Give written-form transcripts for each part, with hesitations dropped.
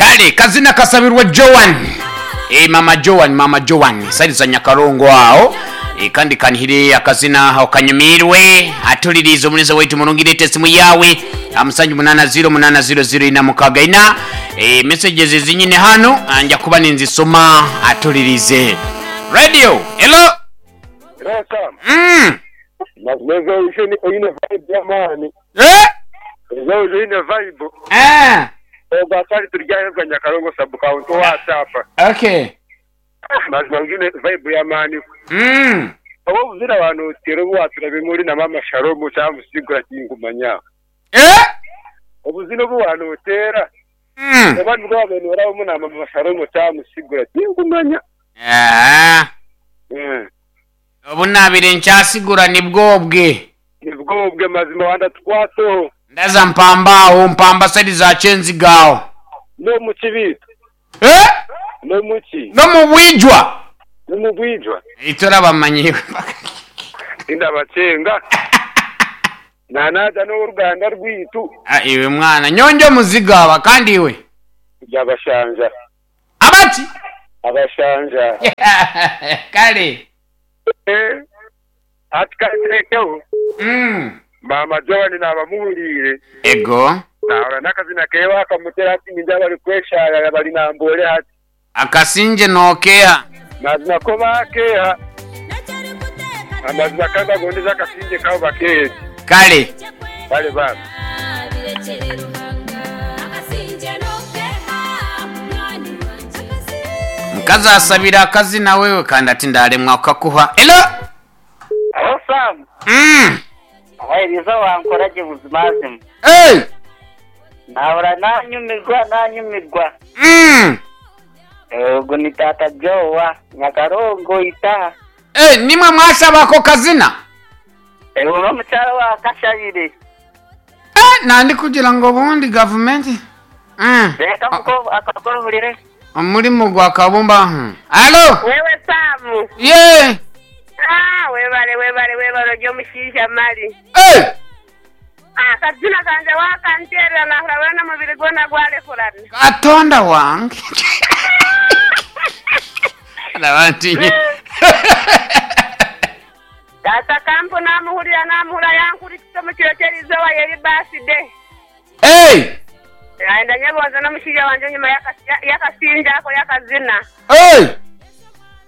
Kale kazina kasabirwa Joan eh, mama Joan mama Joan side za Nyakarongo aho eh, kandi kanhire akazina aho kanyumiirwe atuliriize omulenzi waitu murungi leeta esimu yawe amusanju munana ziro munana ziro ziro ina mukaga ina eh, messages ezinyine hano ah, nja kuba ninzisoma atulirize radio hello Reka, mm. mazima ezo oine vibe y'amaani. eh? Ezo oine vibe. Eh. Ogwo atari turyahebwa Nyakarongo sub county owa Sapa. Okay. Mazima oine vibe y'amaani. Oba obuzira wanootera obu waturabemu ori na mama Shalom cyangwa Musigura tingumanya. Eh? Obuzina obu wanootera oba nibwo wabaire noorabamu na mama Shalom cyangwa Musigura tingumanya. Ah. Obu naabaire nkyasigura nibwo obwe. Nibwo obwe mazima wandatukwataho. Ndaza mpamba aho mpamba side za Kyenziga aho. N'omu kibiito. Eh? N'omu ki? N'omu bwijwa. N'omu bwijwa. Itwe orabamanyiire. Tindabakyenga. Naanaaza n'ow'oruganda rwaitu. Ah, iwe mwana nyonjo omuzigo aba kandi iwe. Turi abashanja. Abaki? Abashanja. Kale. Eh, hati ka nteekeho. Maama Joan naaba muhuriire. Ego. Naahurira n'akazina keewe akamutera hati nindeeba bari kweshaayaya bari Namboole hati. Akasingye nookeeha? Mazima ko baakeeha. Amazima ka mbagondeze akasingye kaabo bakeehe. Kale. Kale baaba. Mukazi asabire akazina wewe kandi ati ndaremwa kukakuha. Hello? Hello Sam. Abahereza wankora gye buzimazima. Hey! Nahura nanyumirwa nanyumirwa. Ogu ni taata Jowa Nyakarongo Itaha. Eh, nimwe mwashaba ako kazina? Ewe n'omukyara wa Kashabire. Eh, nandi kugira ngu obundi gavumenti. Reka muko akakororere. Omurimo gwa Kabumba. Halo? Wewe Samu. Ye. Ah, webale webale webale ori omushaija mari. Hey! Ah, akazina kangye wakanteerera nahurira weena omubiri gwona gwarekurana. Katonda wange. Araba ntinye. Taata Kampu namuhurira namuhurira yankurikisa omu kiro ky'erizooba yeri birthday. Hey! Nayenda nyebonze n'omushaija wangye enyima y'akasingye ako y'akazina. Hey!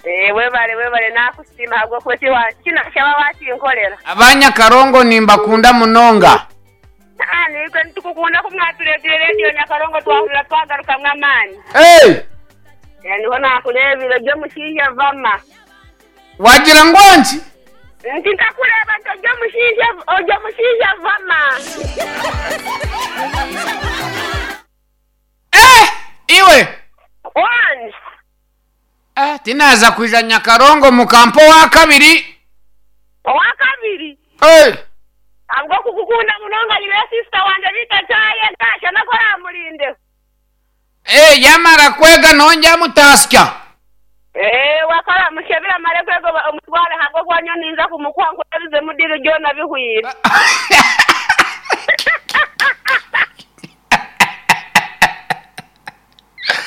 Eh, webale webale nakusiima ahabw'okuba eki eki nashaba wakinkorera. Aba Nyakarongo nimbakunda munonga. Ah, naitwe nitukukunda ku mwatureetire Radio Nyakarongo twahurira twagarukamu amaani. Hey! Eh, niho nakureebire ori omushaija vama. Wagira ngu nki? Nti nkakureeba nti ori omushaija ori omushaija vama. Eh! Iwe! Wangi. Eh, tinaaza kwija Nyakarongo mukampa owakabiri. Owakabiri? Eh! Ahabw'okukukunda munonga nyineyo sister wangye beitu akyayega shana ku oramurindeho. Eh, yamara kwega nongye amutasya. Eh, wakora amushebire amare kwega omutware ahabw'okuba nyowe ninza kumukuha nkurebizemu deal byona bihweire.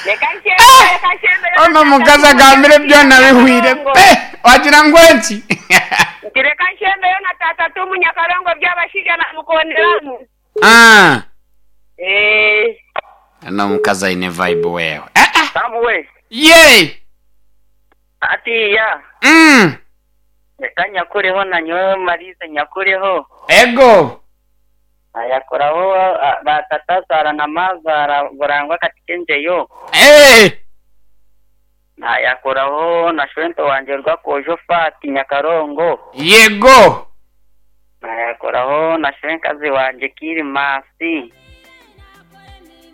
Reka nshembe, reka nshembe. Onu omukazi agambire byona bihweire pe! Wagira ngu enki? Nti reka nshembeyo na taata Tumu Nyakarongo by'abashaija namukonderamu. Ah. Eh. Onu omukazi aine vibe wewe. Eh eh. Sam we. Yee! Hatiiya. Reka nyakureho na nyowe Mariza nyakureho. Ego. Naayakoraho ba tatazaara na maazaara Burangwa Katikengyeyo. Eh. Naayakoraho na shwento wangye Rwakoojo Fati Nyakarongo. Yego. Naayakoraho na shwenkazi wangye Kirimasi.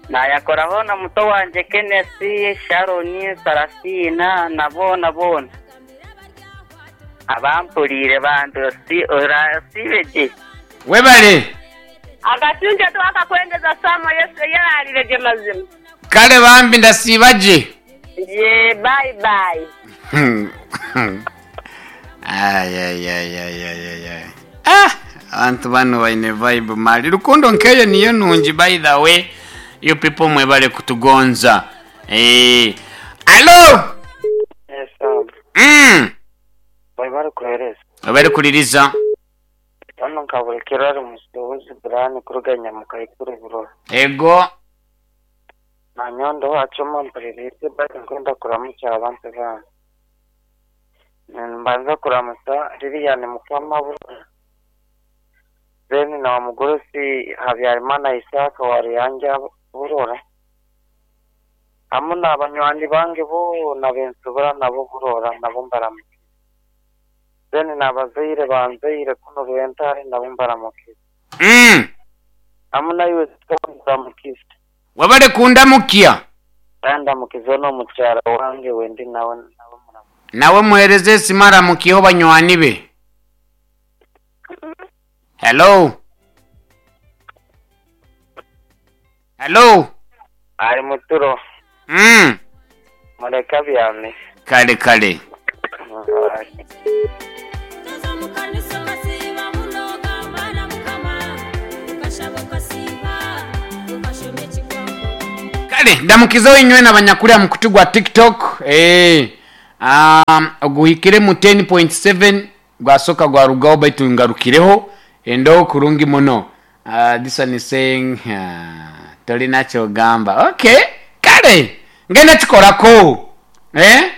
Naayakoraho na muto wangye Kenneth, Sharon, Sarafina na boona boona. Abampuriire bambi osiibe gye. Webale. Akasingye tiwakakwendeza Sam oyeraarire gye mazima. Kale bambi ndasiiba gye. Yee bye bye. Ayayayayayaya. Ah, abantu banu baine vibe mali. Rukundo nkeyo niyo nungi by the way. You people mwebale kutugonza. Eh. Allo! Yes, Sam. Webale kuhereza. Webale kuliriza. Hano nkaburekera ari musubuzi Brian kuruga Nyamukaikuru Burora. Ego. Nanyowe owacuma mpuririize baitu nkwenda kuramukya abantu bange. Nimbanza kuramutsa Lilian Mukamabura, then na omugurusi Habyarimana Isaac wa Ruyangya Burora, hamu n'abanywani bange boona bensobora nabo Burora nabo mbaramukize. Then n'abazaire banzaire kunu Rwentare nabo mbaramukize. Hamu naiwe nkuramukize. Webale kundamukya. Kandi ndamukize n'omukyara wange wendi nawe nawe muramukize. Nawe muhereze esimu aramukiyeho banywani be. Hello. Hello. Ari muturo. Mureke abyame. Kale kale. Kale ndamukizeho inywe nabanyakuri aha mukutu gwa TikTok. Eh. Oguhikire mu 10.7 gwasoka gwarugaho baitu ngarukireho endo kurungi muno. This one is saying tolina kyogamba. Okay. Kale ngenda kikorako. Eh?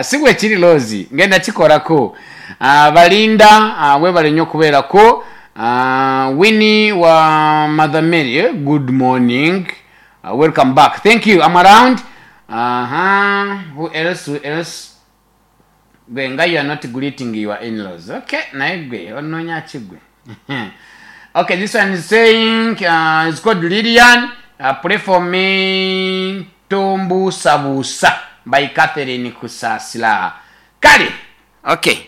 Si bwe kiri Lozi, ngenda kikorako. Balinda webale nnyo okubeerako. Winnie wa Mother Mary, good morning. Welcome back. Thank you. I'm around. Who else? Who else? Gwe nga you are not greeting your in-laws. Okay, naye gwe onoonya ki gwe? Okay, this one is saying, it's called Lilian. Pray for me Tombusabusa by Catherine Kusasila. Kale. Okay.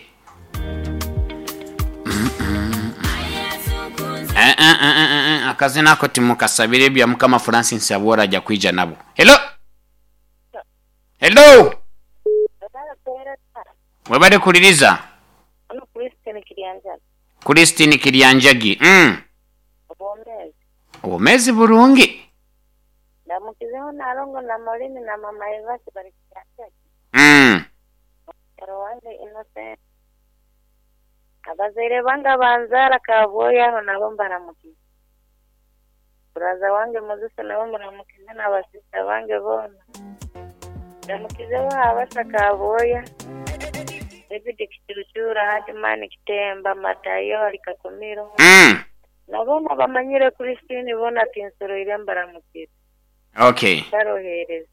Akazina ako timukasabire ebya Mukama Francis Abwora ajja kwija nabo. Hello. Hello. Webale kuliriza. Ono Christine Kiryanjagi. Christine Kiryanjagi. Obwomezi. Obwomezi burungi. Ndamukizeho Nalongo na Maureen na Mama Evasi bari Kiryanjagi. Mukaro wange Innocent. Abazaire bange abanzaara Kabwoya aho nabo mbaramukize. Buraza wange Moses nabo mbaramukize na basista bange boona. Ndamukizeho Habasa Kabwoya. David Kicucura, Hadman Kitemba, Matayo ari Kakumiro. Nabo bamanyire Christine bona tinsoroire mbaramukize. Okay. Barohereza.